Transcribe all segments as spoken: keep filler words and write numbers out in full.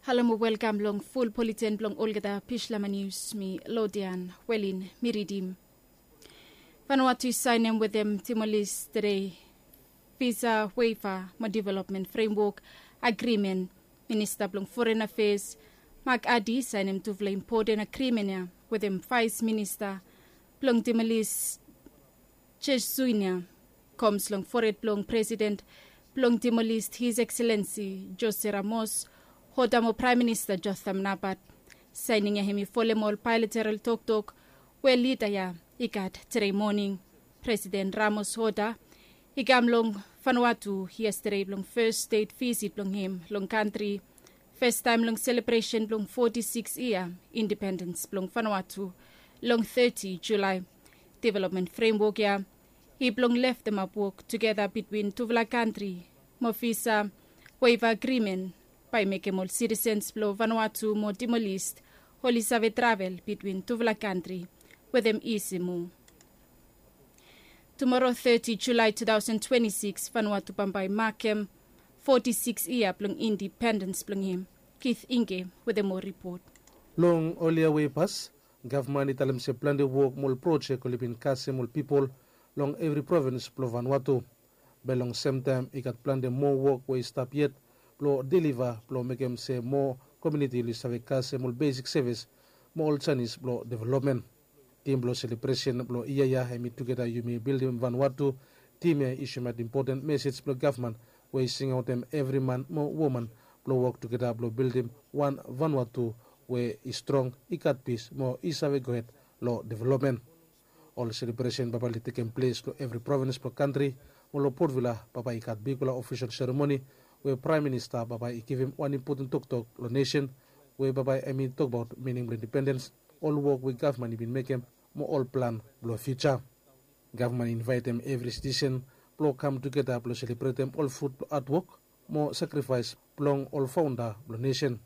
Halo mo welkam long ful politen blong olgeta Pishlama Nius. Mi Lodian Welin mi ridim. Vanuatu i sainem wetem Timolis tedei visa waiver mo development framework agrimen. Minista blong foren afes Mak Adi i sainem tufala impoten agrimen ya wetem vais minista blong Timolis Jesuinia. Koms long fored blong president blong Timolis His Excellency Jose Ramos Hota mo Praem Minista Jotham Napat. Saening ya hem i folem ol baelateral toktok we lida ya i gat tedei moning. President Ramos Hota i kam long Vanuatu yestedei blong fes stet visit blong hem long kantri, festaem long selebresen blong foti sikis yia independens blong Vanuatu long teti Julae. Developmen fremwok ya i blong leftemap wok tugeta bitwin tufala kantri mo visa waiva agrimen bae i mekem ol sitisens blong Vanuatu mo Timolis oli save travel bitwin tufala kantri wetem isi moa. Tumoro teti Julae tu taosen twenti sikis Vanuatu bambae i makem foti sikis yia blong independens blong hem. Kith Inge wetem moa ripot. Long ol yia we i pas, gavman i talem se plante wok mo ol projek oli bin kasem ol pipol long evri provens blong Vanuatu. Be long semtaem i gat plante moa wok we i stap yet blong deliva blong mekem se moa komiuniti oli save kasem ol besik sevis mo ol janis blong developmen. Tim blong selebresen blong yia ya hem i tugeta yumi bildim Vanuatu. Tim ya i soemaot impoten mesej blong gavman we i singaotem evri man mo woman blong wok tugeta blong bildim wan Vanuatu we i strong, i gat pis mo i save gohed long developmen. Ol selebresen bambae oli tekem ples long evri provens blong kantri. Mo long Potvila bambae i gat bigfala ofisol seremoni we Praem Minista bambae i givim wan impoten toktok long nesen we bambae hem i tokbaot mining blong independens, ol wok we gavman i bin mekem mo ol plan blong fiuja. Gavman i invaetem evri sitisen blong kam tugeta blong selebretem ol frut blong adwok mo sakrifaes blong ol faonda blong nesen.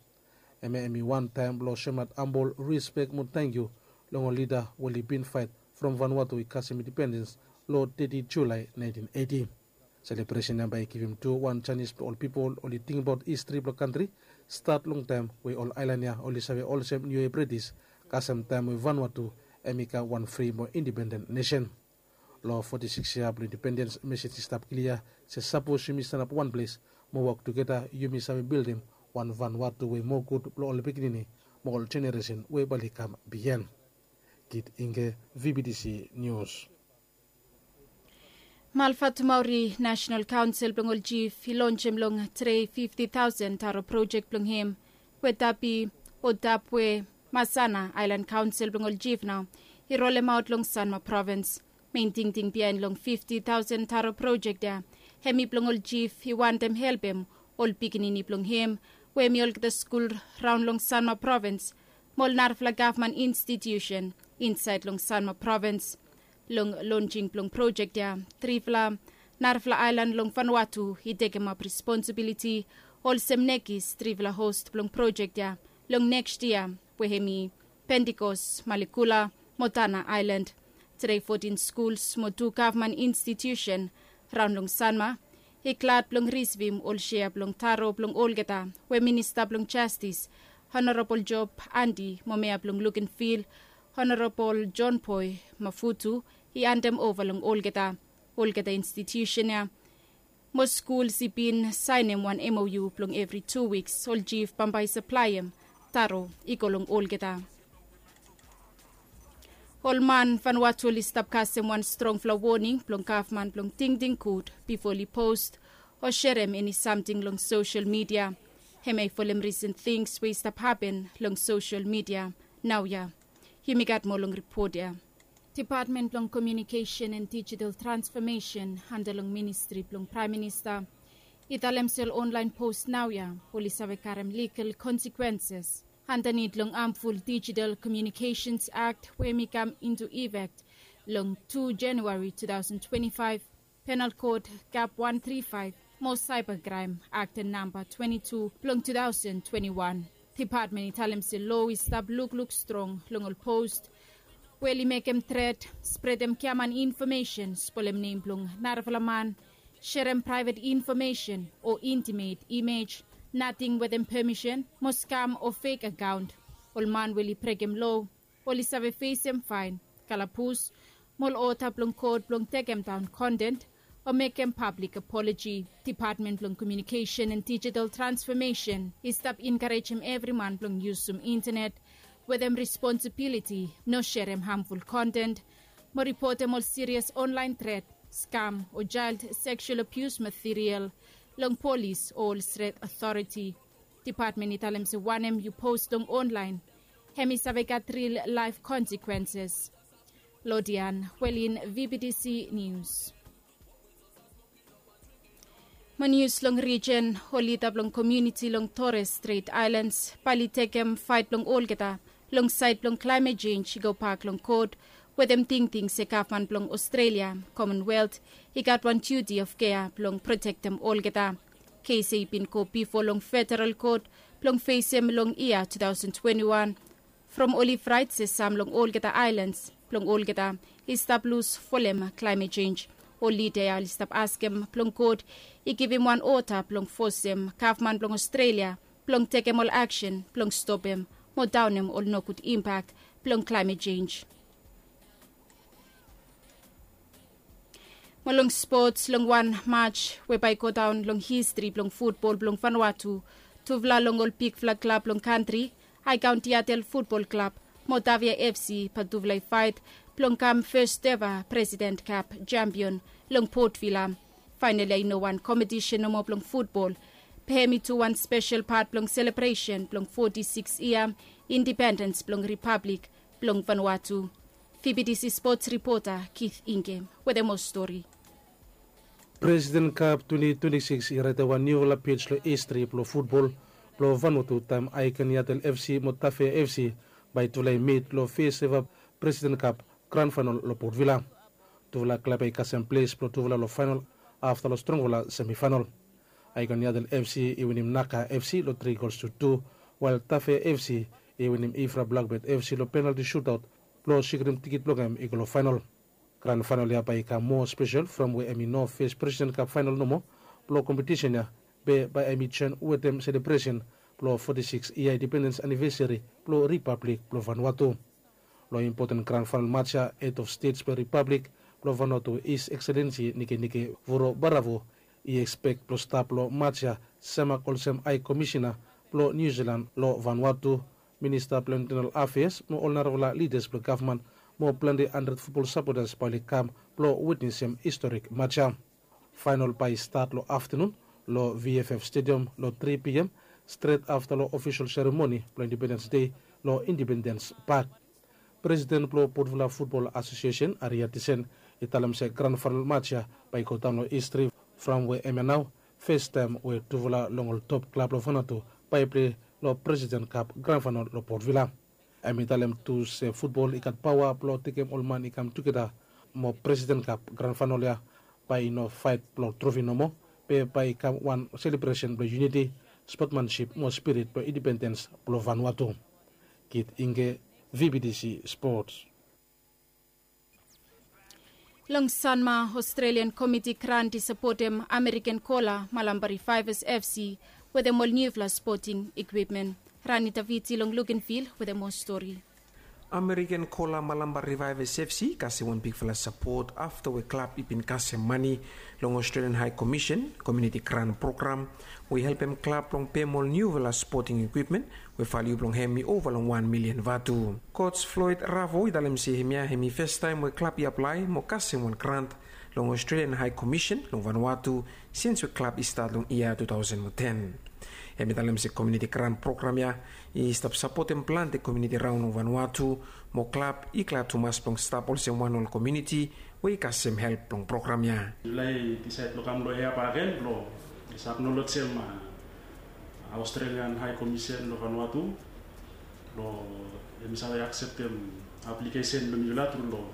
Hemia hem i wan taem blong soemaot ambol rispek mo tangkiu long ol lida we oli bin faet from Vanuatu i kasem independens long teti Julae naentin eiti. Selebresen ya bae i givim tu wan janis blong ol pipol oli tingbaot histri blong kantri stat long taem we ol aelan ya oli save olsem Niu Yia British kasem taem we Vanuatu hem i kam wan fri mo independen nesen. Long foti sikis yia blong independens mesej i stap klia se sapos yumi stanap wan ples mo wok tugeta yumi save bildim wan Vanuatu we i moa gud blong ol pikinini mo ol jeneresen we bae oli kam biaen. Kit Inge, V B T C Nius. Malfatumauri Nasenal Kaonsel blong ol jif i lonsem long tedei fifti taosen taro projek blong hem we tapi o tap we Masana Aelan Kaonsel blong ol jif nao i rolemaot long Sanma Provens. Mein tingting biaen long fifti taosen taro projek ya hem i blong ol jif i wantem helpem ol pikinini blong hem we hem i olgeta skul raon long Sanma Provens mo ol narafala gavman institiusen insaed long Sanma Provens. Long lonsing blong projek ya trifala narafala aelan long Vanuatu i tekemap responsibiliti olsem nekis trifala host blong projek ya long neks yia we hem i Pentikos, Malikula mo Tana Aelan. Tedei fotin skuls mo tu gavman institiusen raon long Sanma i glad blong risivim ol sea blong taro blong olgeta we Minista blong Jastis Honorabol Job Andi mo Mea blong Lukenvil Honorabol Jon Boe Mafutu i handem ova long olgeta. Olgeta institiusen ya mo skuls i bin saenem wan M O U blong evri tu wiks ol jif bambae i saplaem taro i go long olgeta. Ol man Vanuatu oli stap kasem wan strongfala woning blong gavman blong tingting gud bifo oli post o serem eni samting long sosel midia. Hemia i folem risen tings we i stap hapen long sosel midia naoia. Yumi gat moa long ripot ya. Depatmen blong Komiunikesen en Dijital Transfomesen anda long ministri blong Praem Minista i talem se ol onlaen post naoia oli save karem ligal konsekwenses andanit long Hamful Dijital Komiunikesens Akt we hem i kam intu ifek long tu Januari tu taosen twenti faef, Penal Kod Kap wan tri faef mo Saeba Kraem Akt namba twenti tu blong tu taosen twenti wan. Depatmen i talem se loa i stap lukluk strong long ol post we oli mekem tret, spredem giaman infomesen, spolem nem blong narafala man, serem praevet infomesen o intimet imej Nating wetem pemisen mo skam o fek akaont. Ol man we oli brekem loa oli save fesem faen, kalabus, mo ol ota blong kot blong tekemdaon kontent o mekem pablik apoloji. Depatmen blong Komiunikesen and Dijital Transfomesen i stap enkarejem evriman blong yusum intenet wetem responsibiliti, no serem hamful kontent mo ripotem ol sirias onlaen tret, skam o jael seksual abius material long polis o ol stret otoriti. Depatmen i talem se wanem yu pos long onlaen hem i save gat ril laef konsekwenses. Lodian Welin, V B T C Nius. Mo nius long rijen, ol lida blong komiuniti long Torres Strait Aelans bae oli tekem faet blong olgeta long saed blong klaemet jenj i gobak long kot wetem tingting se gavman blong Ostrelia, Komonwelt, i gat wan diuti of kea blong protektem olgeta. Kes ya i bin go bifo long federal kot blong fesem long yia tu taosen twenti wan from oli fraet se sam long olgeta aelans blong olgeta i stap lus folem klaemet jenj. Ol lida ya oli stap askem blong kot i givim wan ota blong fosem gavman blong Ostrelia blong tekem ol aksen blong stopem mo daonem ol nogud impak blong klaemet jenj. Mo long spots, long wan maj we bae i godaon long histri blong futbol blong Vanuatu, tufala long ol bigfala klab blong kantri, Aekaon Tiatel Futbol Klab mo Tavia F C, bae tufala i faet blong kam fes eva President Cup jampion long Port Vila. Faenol ya i no wan kompetisen nomo blong futbol, be hem i tu wan spesel pat blong selebresen blong foti sikis yia indipendens blong Ripablik blong Vanuatu. V B T C spots ripota Keith Ingem wetem moa stori. Presiden Kap twenti twenti sikis i raetem wan niufala pej long histri blong futbol blong Vanuatu taem Aekaon Yatel F C mo Tafea F C bae tufala i mit long fes eva Presiden Kap gran faenol long Port Vila. Tufala klab ya i kasem ples blong tufala long faenol afta long strongfala semifaenol. Aekaon Yatel F C i winim Naka F C long tri gols tu tu, wael Tafea F C i winim Ifra Blakbet F C long penalti sutaot blong sikrim tikit blong hem i go long faenol. Gran faenol ya bae i kam moa spesel from we hem i no fes Presiden Kap faenol nomo blong kompetisen ya, be bae hem i joen wetem selebresen blong foti sikis yia indipendens anivesari blong Ripablik blong Vanuatu. Long impoten gran faenol maj ya, Hed of Stets blong Ripablik blong Vanuatu, His Excellency Nikenike Vurobaravu, i ekspek blong stap long maj ya semak olsem Hae Komisena blong Niu Silan long Vanuatu, Minista blong Intenal Afeas mo ol narafala lidas blong gavman mo plante handred futbol sapotas bae oli kam blong witnesem historik maj ya. Faenol bae i stat long aftenun long V F F Stadium long tri P M, stret afta long ofisol seremoni blong Indipendens Dei long Indipendens Pak. Presiden blong Port Vila Futbol Asosiesen, Aria Tisen, i talem se gran faenol maj ya bae i godaon long histri from we hemia nao fes taem we tufala long ol top klab long Vanuatu bae i plei long Presiden Kap gran faenol long Port Vila. Hem i talem tu se futbol i gat paoa blong tekem ol man i kam tugeta, mo Presiden Kap gran faenol ya bae i no faet blong trofi nomo, be bae i kam wan selebresen blong yuniti, spotmansip mo spirit blong indipendens blong Vanuatu. Kit Inge, V B T C Spots. Long Sanma, Australian Komiti Grant i sapotem American Kola Malampa Revivers F C wetem ol niufala spoting ekwipmen. Rani Taviti long Lukenvil wetem moa stori. American Kola Malampa Revivers F C i kasem wan bigfala sapot afta we klab i bin kasem mane long Australian High Commission Community Grant Program we i helpem klab blong pem ol niufala spoting ekwipmen we valiu blong hem i ova long wan milian vatu. Coach Floyd Ravo i talem se hemia hem i festaem we klab i aplae mo kasem wan grant long Australian High Commission long Vanuatu sins we klab i stat long yia tu taosen mo ten. Hem i talem se komuniti grant program ya i stap sapotem plante komuniti raon long Vanuatu, mo klab i glad tumas blong stap olsem wan ol komuniti we i kasem help blong program ya. Yufala i disaed blong kam long hia bakegen blong aknolej hem Australian High Commission long Vanuatu blong hem i save akseptem aplikesen blong yufala tru long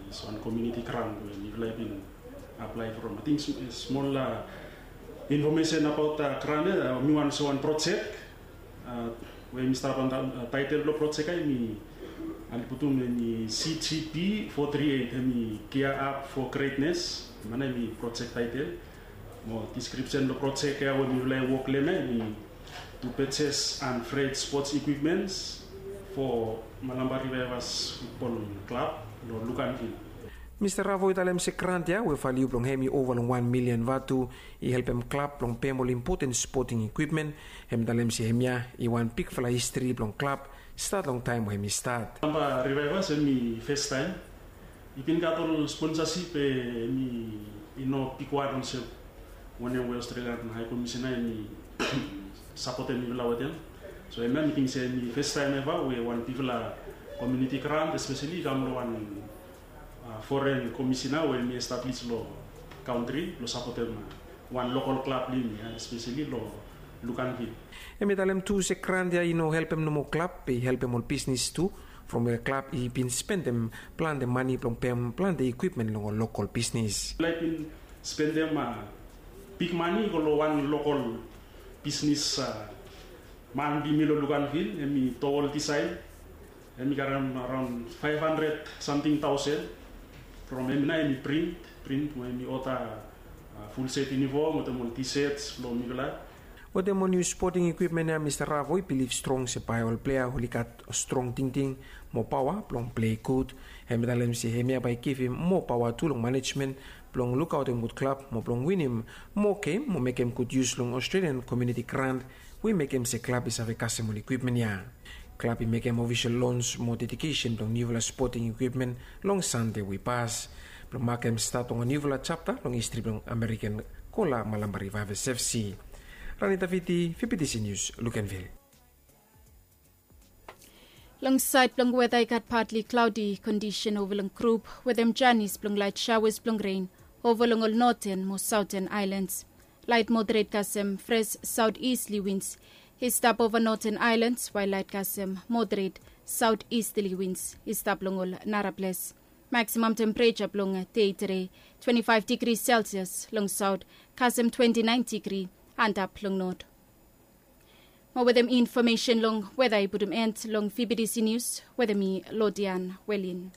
dis wan komuniti grant we yufala i bin aplae from. Ating smol infomesen abaot grant ya, mi wan olsem wan projek we mi stap antap taetel blong projek ya mi ali putum hem i C G P four three eight, hem i Gear Up for Greatness. Hem ya hem i projek taetel. Mo diskripsen blong projek ya we mifala i wok long hem ya i tu pejes and fred spots ekwipmens fo Malampa Rivivas futbol klab long Lukanvil. Mista Ravo i talem se grant ya we valiu blong hem i ova long wan milian vatu i helpem klab blong pem ol impoten spoting ekwipmen. Hem i talem se hemia i wan bigfala histri blong klab stat long taem we hem i stat. Malampa Rivivas hem i festaem i bin gat ol sponsasip be hem i no bigwan olsem wanem we Australian High Commissioner hem i sapotem mifala wetem. So hemia mi ting se hem i festaem eva we wan bigfala komuniti grant espeseli i kam long wan foren komisina we hem i establis long kantri blong sapotem wan lokol klab blong yumi ya espeseli long Lukanvil. Hem i talem tu se grant ya i no helpem nomo klab be i helpem ol bisnis tu from we klab i bin spendem plante mane blong pem plante ekwipmen long ol lokol bisnis. Mifala i bin spendem big mane i go long wan lokol bisnis man blong yumi long Lukanvil, hem i tol disaen hem i karem araon faef handred samting taosen. From hem nao hem i print print mo hem i oda fulset yunifom wetem ol tisets blong mifala. Wetem ol niu spoting ekwipmen ya Mista Ravo i bilif strong se bae ol plea oli gat strong tingting mo paoa blong plei gud. Hem i talem se hemia bae i givim moa paoa tu long manejmen blong lukaotem gud klab mo blong winim moa gem mo mekem gud yus long Australian komuniti grant we i mekem se klab i save kasem ol ekwipmen ya. Klab i mekem ofisol lons mo dedikesen blong niufala spoting ekwipmen long Sande we i pas blong makem stat long wan niufala japta long histri blong Amerikan Kola Malampa Rivivas FC. Ranita Viti, VBTC Nius, Lukenvil. Long saed blong weta i gat patli klaodi kondisen ova long grup wetem janis blong laet saoas blong ren ova long ol noten mo saoten aelans. Laet moderet kasem fres saotisli wins i stap ova noten aelans wael laet kasem moderet saotisli wins i stap long ol nara ples. Maksimam tempereja blong dei tede twenti faef digri selsias long saot kasem twenti naen digri antap long not. Mo wetem infomesen long weta i putum en long VBTC Nius wetem mi Lodian Welin.